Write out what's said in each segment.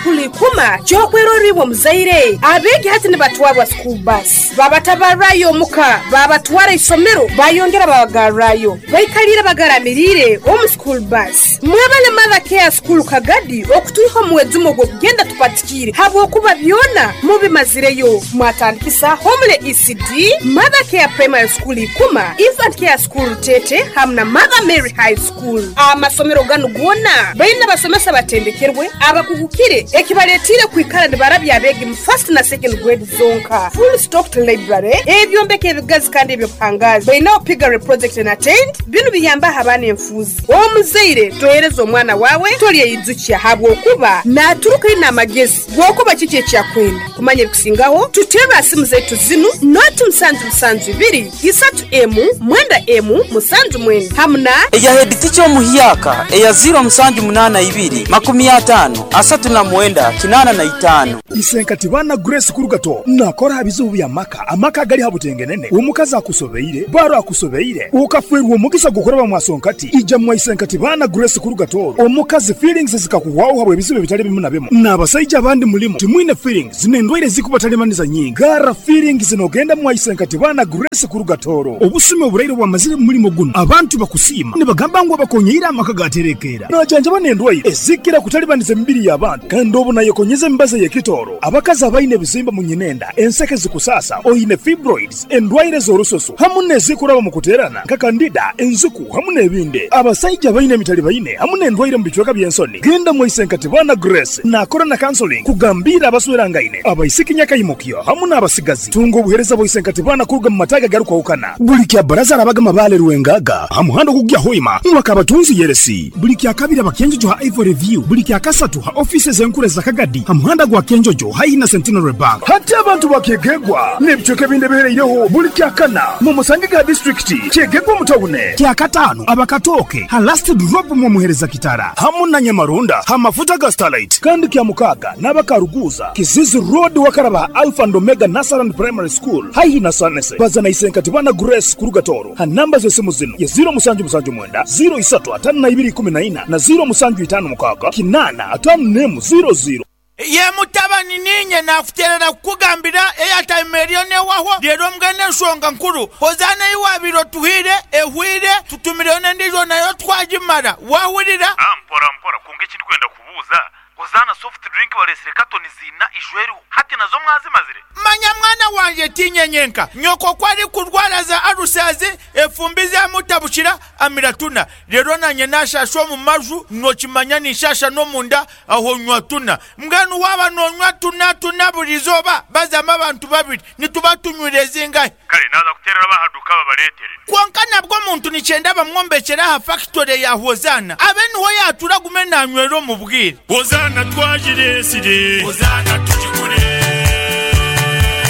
School Ikuma ky'okwerorra iwe omuzaire. Abeegi hati nibatwarwa school bus, babatabarrayo omuka, babatwara isomero, bayongera babagarrayo. Baikaliire bagaramiriire omu school bus. Mwebale Mother Care School Kagadi okutwiha omu mwejumo gw'okugenda tupatikiire habwokuba byona mubimazireyo. Mwatandikisa Homely ECD, Mother Care Primary School Ikuma, Infant Care School Rutete hamu na Mother Mary High School. Amasomero ganu goona baine abasomesa abatendekerwe, abakugukire ekibaletiire kwikara nibarabya abeegi mu first na second grade zonka. Full stocked library, ebyombeko ebigazi kandi eby'obuhangaazi. Baineho piggery project na tent, binu biyambaho abaana enfuuzi. Omuzaire tohereza omwana waawe tolyeyijukya habwokuba naaturuka aine amagezi g'okuba kiki eki akwenda. Kumanya ebikusingaho, tuterre ha simu zaitu zinu, noti musanju musanju ibiri, isatu emu, mwenda emu, musanju mwenda hamu na. Eya heditica omuhyaka eya ziiro musanju munaana ibiri, makumi ataano, asatu na mwenda, kinaana na itaano. Isenkati baana Grace Kurugato nakora ha bizibu bya maka, amaka agali ha butengenene, omukazi akusobeire, baro akusobeire, okafwerwa omugisa gw'okuraba mwa Sonkati, ija mwa Isenkati baana Grace Kurugato, omukazi feelings zikakuhwaho habw'ebizibu ebitali bimu na bimu, n'abasaija abandi mulimu timwine feelings n'endwaire ezikubatalibaniza nyingi, garra feelings nogenda mwa Isenkati baana Grace Kurugatoro. Obusumi oburaire obwamazire mu mulimo gunu, abantu bakusiima nibagamba ngu abakonyeire amaka gaterekeera. Najanjaba n'endwaire ezikira kutalibaniza emibiri y'abantu kandi obu nayekonyeza emibazi ey'ekitooro. Abakazi abaine ebizimba mu nyinenda, enseke zikusaasa, oine fibroids, endwaire z'orususu hamu n'ezikuraba mu kuteerana nka kandida, enziku hamu n'ebindi. Abasaija abaine emitalibaine hamu n'endwaire mu bicweka by'ensoni, genda mwaise nka Tibana Grace naakora na counseling kugambiira abaswerangaine, abaisiki nyakaimukyo hamu n'abasigazi. Tunga obuheereza bwa Isenkati Baana kuruga mu mataagi agarukwahukana. Buli kya Baraza arabaga Mabaale Rwengaga ha muhanda ogukugya Hoima mwaka Abatunzi Yeresi. Buli kya Kabiri aba Kyenjojo ha Ivory View. Buli kya Kasatu ha ofiisi ez'enkuru eza Kagadi ha muhanda gwa Kyenjojo haihi na Centenary Bank. Hati abantu ba Kyegegwa n'ebicweka ebindi ebihereireho buli kya Kana mu musange ga disiturikiti Kyegegwa omu tawune. Kya Kataano aba Katooke ha Last Drop mw'omuhereza Kitara hamu na Nyamarunda ha mafuta ga Starlight. Kandi kya Mukaaga n'aba Karuguuza, Kizizi Road wakaraba ha Alpha and Omega Nursery and Primary School haihi na Sanese. Baza na Isenkati Bana Grace kuruga Tooro ha namba z'esimu zinu ye ziiro musanju musanju mwenda, ziiro isatu ataano na ibiri ikumi na ina na ziiro musanju itaano mukaaga kinaana ataano n'emu ziiro ziiro. Ye mutabani, niinye naakuteerera kukugambira eyataima eriyo n'ewahwo. Reero mbwenu enshonga nkuru, Hozaana ei waabaire otuhaire ehweire, tutumireyo n'endiijo nayo twagimara. Waahurira? Mpora mpora, kwonka eki ndikwenda kubuuza, Hozaana soft drink bareetsire katoni ziina ijweriho, hati nazo mwazimazire? Manya mwana wangye, tiinye nyenka. Nyoko ku arikurwara za alusazi, efumbi zamutabukira, amira tuna. Reero naanye naashaasha omu maju, nookimanya ninshaasha n'omunda, aho nywa tuna. Mbwenu waaba noonywa tuna tuna buri izooba, bazamu abantu babiri, nituba tunywire zingahi? Kare naaza kuteerera ab'aha duuka babareetere. Kwonka nabwo omuntu nikyenda bamwombekyere aha fakitore ya Hozaana, abe niho yaatuura agume naanywera omu bwire. Hozaana twagireetsire. Hozaana tugigure.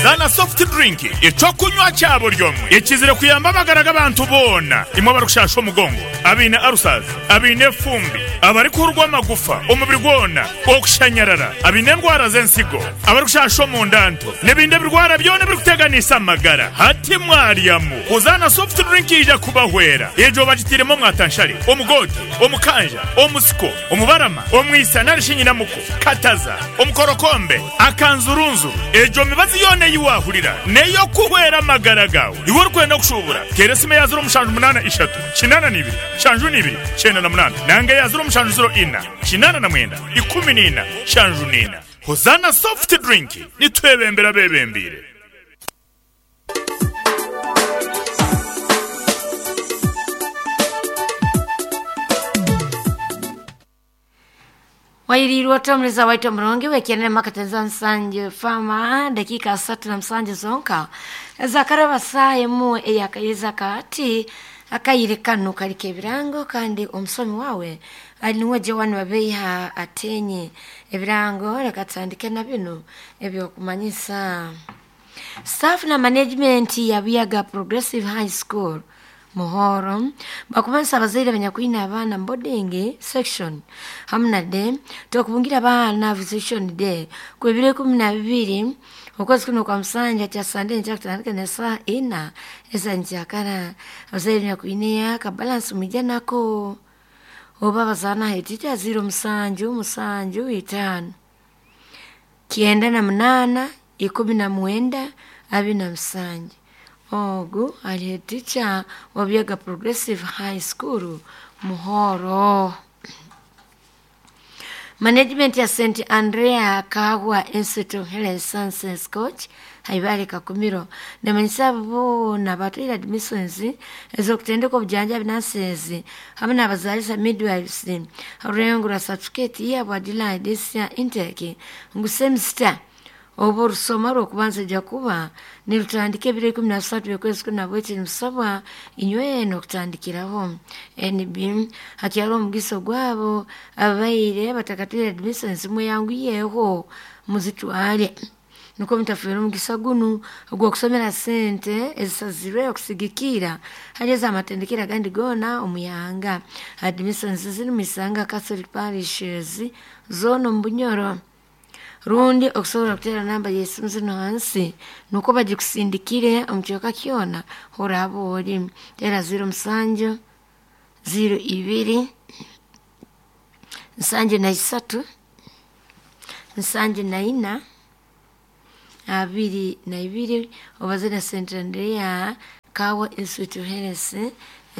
Zaana Soft Drink, eky'okunywa kya buri omwe ekizire kuyamba amagara g'abantu boona. Imwe abarikushaasha omugongo, abaine ulcers, abaine efumbi, abarikuhurwa amagufa omubiri gwona, okushanyarara, abaine endwara z'ensigo, abarikushaasha omunda nto, n'ebindi ebirwara byona ebirikuteganisa amagara. Hati mwaryamu, Hozaana Soft Drink yaija kubahwera. Egyo bagitairemu omwatanshare, omugoote, omukanja, omusiko, omubarama, omwisa nari shi nyinamuko, kataza, omukorokombe, akanzurunzuru. Egyo mibazi yoona ei waahurira n'ey'okuhwera amagara gaawe. Iwe orikwenda kushuubura, teera esimu eya ziro mushanju munaana ishatu, kinaana na ibiri, nshanju na ibiri, kyenda na munaana nanga eya ziro mushanju ziro ina, kinaana na mwenda, ikumi na ina, nshanju na ina. Hozaana Soft Drink, nitwebembera abeebembeire. Wairiirwe ota omuleza waitu omurungi wekienere makatenza nsanju fama dakika asatu na musanju zonka ezakaraba saaha emu eyakairiza kaati akaire kanu kaliko ebirango kandi omusomi wawe ali niwe Joan Babeiha atenye ebirango leka tutandike na binu ebyokumanyisa. Staff na management ya Buyaga Progressive High School Muhoro bakumanyisa abazaire abanyakwine abaana mu boarding section hamu na day tokubungira abaana visitation day ku ebiro ikumi na bibiri okwezi kuno kwa musanja kya Sunday nja kutandika na saa ina eza njakara. Abazaire banyakwine akabalansi mwija nako oba bazaana hetita ziro musanju musanju itaano. 98 19 27. Ogu ali head teacher wa Buyaga Progressive High School Muhoro. Management ya St. Andrea Kahwa Institute of Health Sciences Coach haibale Kakumiro nemanyisa bona batwire admissions ez'okutendeka obujanjabi nurses hamwe n'abazaalisa midwives orurengo rwa certificate yabwa July this year intake ngu semester oba orusoma rw'okubanza ejja kuba nirutandika ebiro 13 by'okwezi kuna bweki nimusabwa inywena okutandikiraho NB hakyali omugisa gwabo ababaire batakatwire admissions mweyanguyeho muzitwale nukwo mutafiire omugisa gunu ogw'okusomera sente ezisazirwe okusigikira hali ez'amatendekero agandi goona omuyanga. Admissions ziri mu Isanga Catholic Parishes zoona omu Bunyoro rundi okusobola kuteera namba y'esimu zino hansi nukwo bagikusindikire omu kyoka kyona horaba ori teera 07 02 73 74 22 obaze na St. Andrea Kawa Institute of Health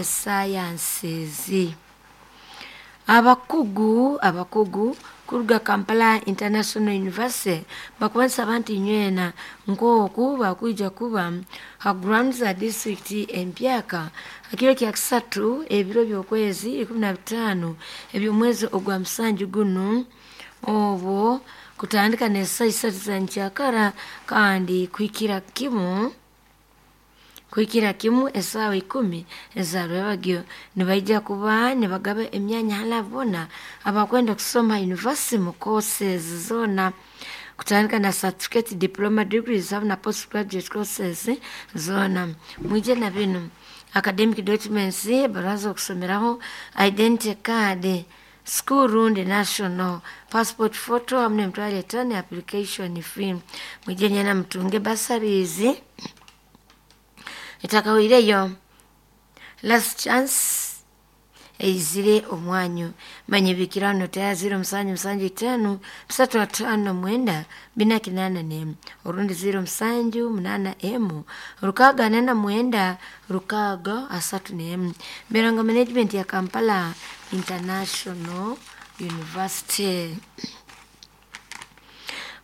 Sciences. Abakugu kuruga Kampala International University bakubanisa abantu inywena nk'oku bakwija kuba ha grounds za district empyaka hakiro kya kisatu ebiro by'okwezi 15 eby'omwezi ogwa musanju gunu obwo kutandika n'esaa isatu za nkyakara kandi kuhikira kimu esaawa 10 ezarwebagyo nibaija kuba nibagaba emyanya hala bona abakwenda kusoma university mu courses zona kutandika na certificate, diploma, degrees na postgraduate courses zona. Mwije na bino academic documents, baraza okusomeraho, identity card, school rundi national passport photo hamwe n'emitwaro etaano application fee. Mwije nyena mutunge bursaries etakawireyo last chance eizire omwanyu manye bikirano taya 07 7 5 3 5 9 4 8 orundi 07 8 M 6 4 9 6 31 Mirongo Management ya Kampala International University.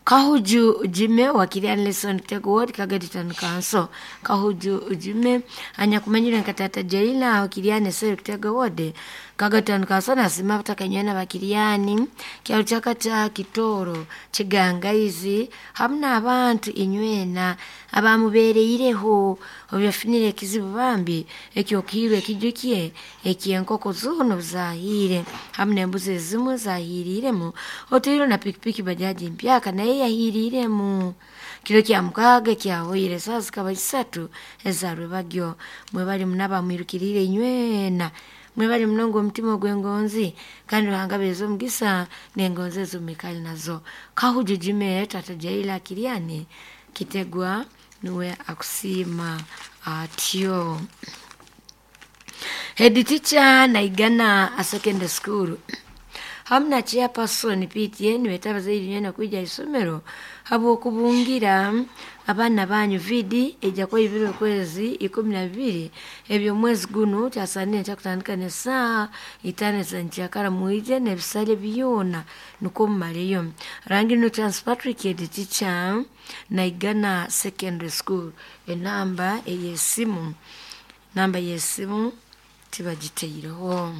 Kahuju Jime wakili Anderson Kitego Ward Kagadi Town Council. Kahuju Jime anyakumanyira nkatata Jaila wakili Anderson Kitego Ward Kagadi Town Council nasima batakanywana bakiliani kyalo kyakata Kitoro Kigangaizi hamna abantu inywena abamubereireho obyafunire ekizibu bambi ekyokirwe ekijukie ekyenkoko zono zahire hamna embuzi ezimwe zahiriremu otiro na pikipiki bajaji mpyaka naye yahiriremu kiro kya mukaga kyahoire saa zikaba isatu ezarwebagyo mwebali munaba mwirukirire inywena mwebali munongo omutima ogw'engonzi kandi Ruhanga beeza omugisa n'engonzi ezomikali nazo. Kahuju Jime tata Jaila Kiriani Kitegwa niwe akusiima atyo. Head teacher Naigana a secondary school hamna chairperson PTN wetabaza inywena kuija isomero habwokubungira abaana banyu vidi ejja kuba ibiro kwezi 12 ebyo mwezi guno kyasanire kyakutandika n'esaaha 5 za nkyakara mwije n'ebisale byona nukwo mumaleyo. Rangi no Chance Patrick head teacher Naigana Secondary School. Enamba ey'esimu tibagiteireho.